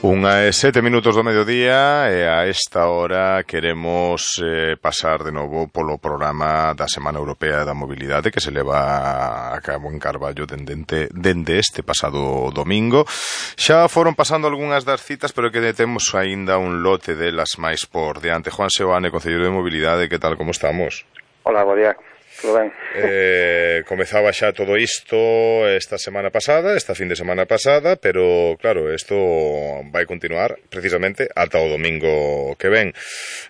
Unha e 7 minutos do mediodía e a esta hora queremos pasar de novo polo programa da Semana Europea da Mobilidade que se leva a cabo en Carballo dende este pasado domingo. Xa foron pasando algunhas das citas, pero que temos aínda un lote delas máis por diante. Juan Seoane, Concelleiro de Mobilidade, que tal, como estamos? Hola, bo día. Todo ben? Comezaba xa todo isto esta fin de semana pasada, pero claro, isto vai continuar precisamente ata o domingo que ven.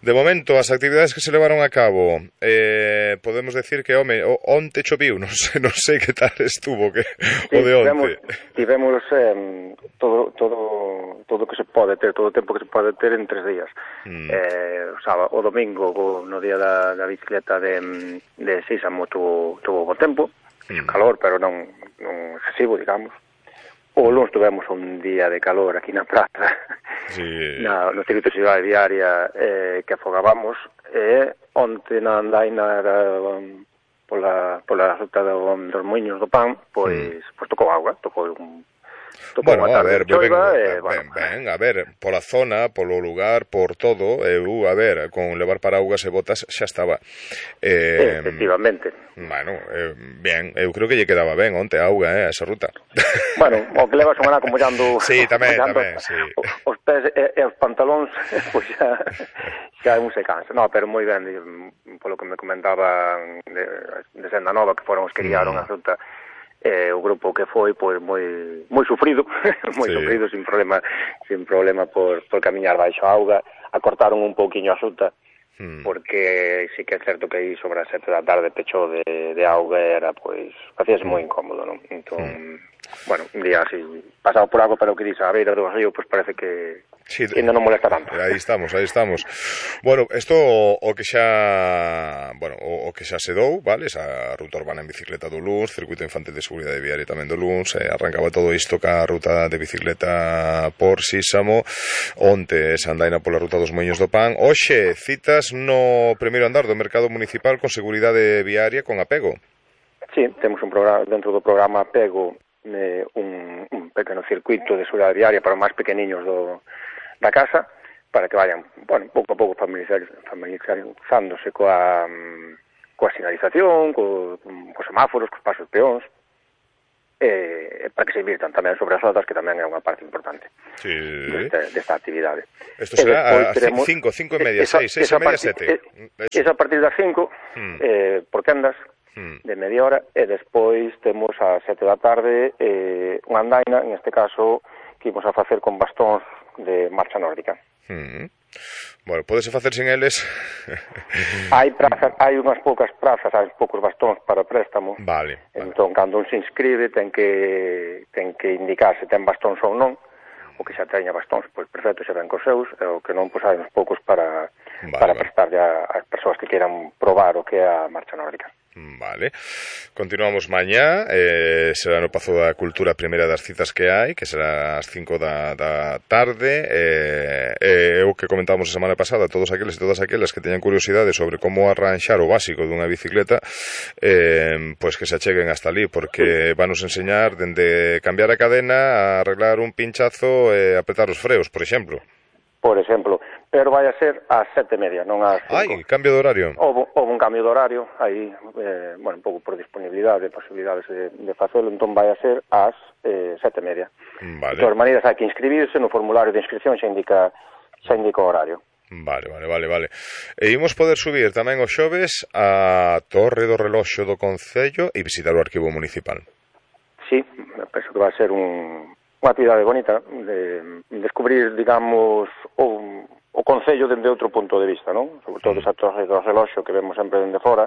De momento, as actividades que se levaron a cabo, podemos decir que, onte choviu, non sei que tal estuvo o de onte. Tivemos todo que se pode ter, todo o tempo que se pode ter en 3 días. O domingo, no día da bicicleta de Sísamo, tuvo bo tempo, calor, pero non excesivo, digamos. O lunes tuvemos un día de calor aquí na praza, no circuito de cidade diaria que afogábamos, e onte na andaina pola ruta dos Moinhos do Pan, pois tocou agua, tocou Bueno, a ver, a ver, pola zona, polo lugar, por todo, con levar paraugas e botas xa estaba. Efectivamente. Bueno, ben, eu creo que lle quedaba ben onte a auga, esa ruta. Bueno, o que levas semana como mollando sí, tamén, sí. Os pés e os pantalóns, pois xa un se cansa. No, pero moi ben, polo que me comentaban de Senda Nova, que foron os que guiaron a ruta, o grupo que foi pois moi sufrido, sufrido, sin problema por camiñar baixo a auga. Acortaron un pouquiño a ruta, porque sí que é certo que aí sobre as 7 da tarde pechou de auga, era pois facíase moi incómodo, non? Entón, bueno, un día así pasado por algo, pero que dice a beira do río, pois parece que ainda non molesta tanto. Aí estamos. Bueno, isto o que xa se dou, vale? Esa ruta urbana en bicicleta do Luns, circuito infantil de seguridade viaria tamén do Luns, arrancaba todo isto ca ruta de bicicleta por Sísamo, onte esa andaina pola ruta dos Moinhos do Pan. Hoxe, citas no primeiro andar do mercado municipal con seguridade viaria con Apego. Sí, temos un programa dentro do programa Apego, un pequeno circuito de seguridade viaria para os máis pequeniños da casa, para que vayan, pouco a pouco familiarizándose coa sinalización, cos semáforos, cos pasos peóns, para que se invirtan tamén sobre as rodas, que tamén é unha parte importante desta actividade. Isto será a 5 e media, 6 e media, 7. Esa a partir das 5, por quendas, de media hora, e despois temos a 7 da tarde unha andaina, en este caso, que imos a facer con bastóns de marcha nórdica. Bueno, podese facer sin eles? Hai unhas poucas prazas, hai poucos bastóns para préstamo. Vale. Entón, cando un se inscribe, ten que indicar se ten bastóns ou non. O que xa teña bastóns, pois perfecto, xa ven cos seus, e o que non, pois hai uns poucos para prestarlle ás persoas que queiran probar o que é a marcha nórdica. Vale, continuamos mañá, será no Pazo da Cultura a primeira das citas que hai, que será ás 5 da tarde, o que comentábamos a semana pasada, todos aqueles e todas aquelas que teñan curiosidade sobre como arranxar o básico dunha bicicleta, pois que se acheguen hasta ali, porque vanos enseñar dende cambiar a cadena a arreglar un pinchazo e apretar os freos, por exemplo. Pero vai a ser ás 7:30, non ás 5. Ai, cambio de horario. Houve un cambio de horario, aí, un pouco por disponibilidade, posibilidades de facelo, entón vai a ser ás 7:30. Vale. De todas maneiras, hai que inscribirse no formulario de inscripción, xa indica o horario. Vale. E imos poder subir tamén os xoves a Torre do Reloxo do Concello e visitar o arquivo municipal. Sí, penso que vai ser unha actividade bonita de descubrir, digamos, o Concello dende outro punto de vista, non? Sobre todo esa torre do reloxo que vemos sempre dende fora,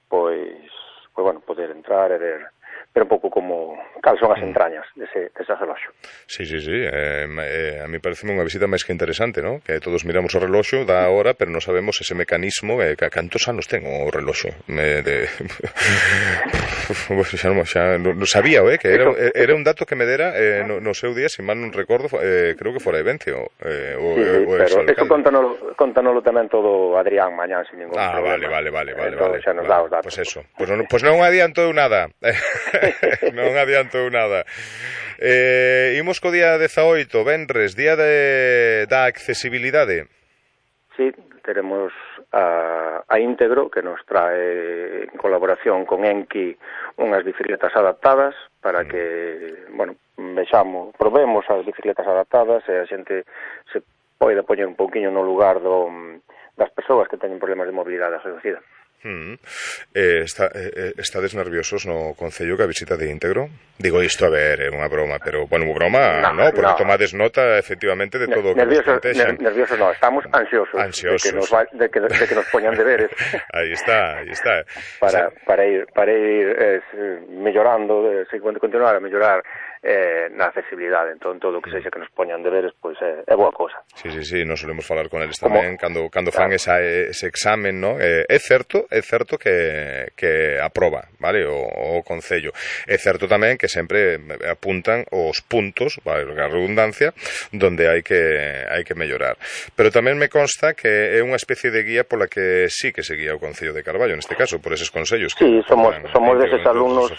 pois poder entrar e ver un pouco como cal son as entrañas dese reloxo. Sí, a mí pareceme unha visita máis que interesante, non? Que todos miramos o reloxo da hora, pero non sabemos ese mecanismo, cantos anos ten o reloxo xa non sabía, que era un dato que me dera no seu día, se mal non recordo, creo que fora Evencio pero eso contanolo tamén todo Adrián mañán sin ningún problema. Vale. Xa nos dá os datos. Pois non adiantou nada. Non adiantou nada. Imos co día 18, venres, día da accesibilidade. Sí, teremos a Íntegro, que nos trae en colaboración con Enki unhas bicicletas adaptadas para que, bueno, probemos as bicicletas adaptadas e a xente se poida poñer un pouquiño no lugar das persoas que teñen problemas de mobilidade reducida. Estades nerviosos no Concello que a visita de Íntegro? Digo isto, a ver, é unha broma, pero, bueno, unha broma, no, porque tomades nota, efectivamente, de todo o que nos contexan. Nerviosos non, estamos ansiosos. De que nos poñan deberes. Aí está. Para ir mellorando, continuar a mellorar na accesibilidade. Entón, todo o que sexa que nos poñan deberes, pois é boa cosa. Sí, nos solemos falar con eles tamén, cando fan ese examen, no? É certo que aproba, vale, o Concello. É certo tamén que sempre apuntan os puntos, vale, a redundancia, donde hai que mellorar. Pero tamén me consta que é unha especie de guía pola que sí que se guía o Concello de Carballo, neste caso, por eses consellos. Sí, somos deses alumnos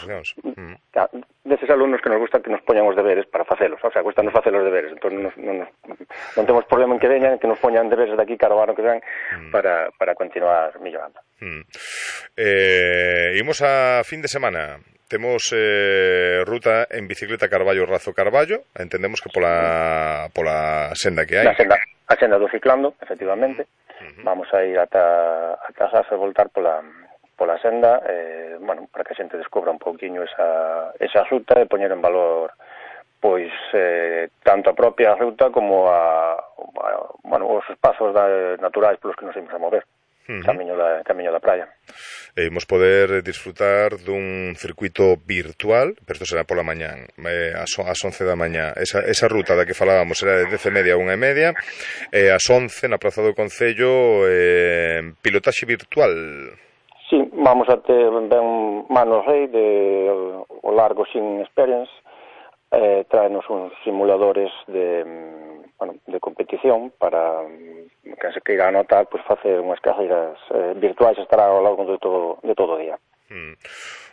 que nos gusta que nos poñan os deberes para facelos, o sea, gustanos facer os deberes, entón non temos problema en que veñan, que nos poñan deberes de aquí cara ao ano que ven para continuar mellorando. Imos a fin de semana. Temos ruta en bicicleta Carballo-Razo-Carballo. Entendemos que pola senda que hai. A senda do ciclando, efectivamente. Vamos a ir ata Razo e voltar pola senda, bueno, para que a xente descubra un pouquiño esa ruta e poñer en valor pois tanto a propia ruta como os espazos naturais polos que nos imos a mover. Camiño da praia. E imos poder disfrutar dun circuito virtual, pero isto será pola mañán, ás 11 da mañá. Esa ruta da que falábamos será de 10:30 a 1:30, e ás 11 na Praza do Concello, pilotaxe virtual. Sí, vamos a ter ben Mano Rei o Largo Sin Experience, traenos uns simuladores de competición para que se queira anotar, pues facer unhas carreiras virtuais, estará ao longo de todo o día.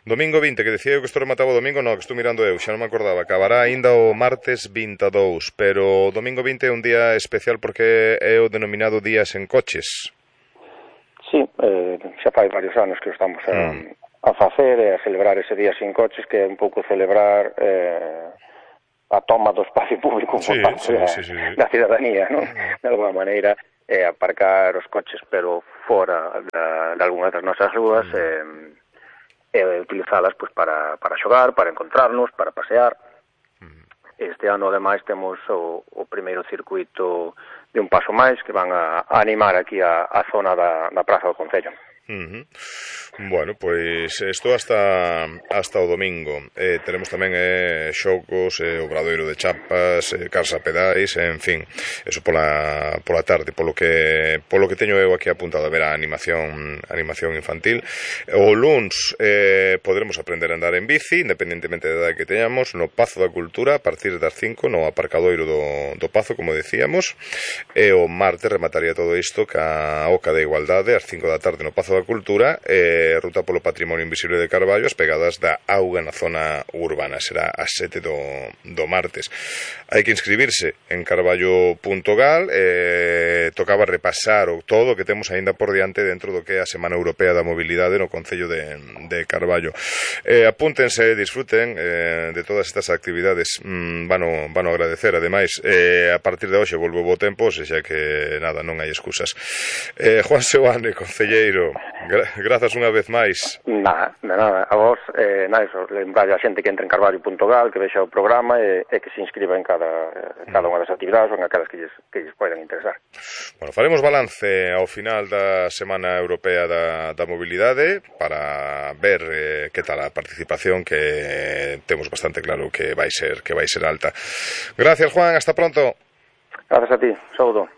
Domingo 20, que decía eu que isto remataba o domingo, que estou mirando eu, xa non me acordaba, acabará aínda o martes 22, pero o domingo 20 é un día especial porque é o denominado Día Sen Coches. Sí, xa fai varios anos que o estamos a facer e a celebrar ese Día Sin Coches, que é un pouco celebrar a toma do espacio público por parte da cidadanía, non? De alguma maneira, aparcar os coches pero fora de algunhas das nosas rúas e utilizalas pues, para xogar, para encontrarnos, para pasear. Este ano, ademais, temos o primeiro circuito de un paso máis que van a animar aquí a zona da Praza do Concello. Bueno, pois isto hasta o domingo. Teremos tamén xogos, obradoiro de chapas, carsa pedais, en fin, eso pola tarde, polo que teño eu aquí apuntado, a ver a animación infantil. O luns poderemos aprender a andar en bici, independentemente da edad que teñamos, no Pazo da Cultura, a partir das 5, no aparcadoiro do Pazo, como decíamos, e o martes remataría todo isto ca Oca da Igualdade, ás 5 da tarde no Pazo da Cultura, ruta polo Patrimonio Invisible de Carballo, as pegadas da auga na zona urbana. Será ás 7 do martes. Hai que inscribirse en carballo.gal. Tocaba repasar todo o que temos aínda por diante dentro do que é a Semana Europea da Mobilidade no Concello de Carballo. Apúntense, disfruten de todas estas actividades. Vano agradecer, ademais, a partir de hoxe volvo bo tempo, xa que nada, non hai excusas. Juan Seoane, concelleiro, grazas unha vez máis. Nada, a vos, lembrar a xente que entre en carballo.gal, que vexa o programa e que se inscriba en cada unha das actividades ou en aquelas que lles poden interesar. Bueno, faremos balance ao final da Semana Europea da Mobilidade para ver que tal a participación, que temos bastante claro que vai ser alta. Gracias, Juan, hasta pronto. Gracias a ti, saúdo.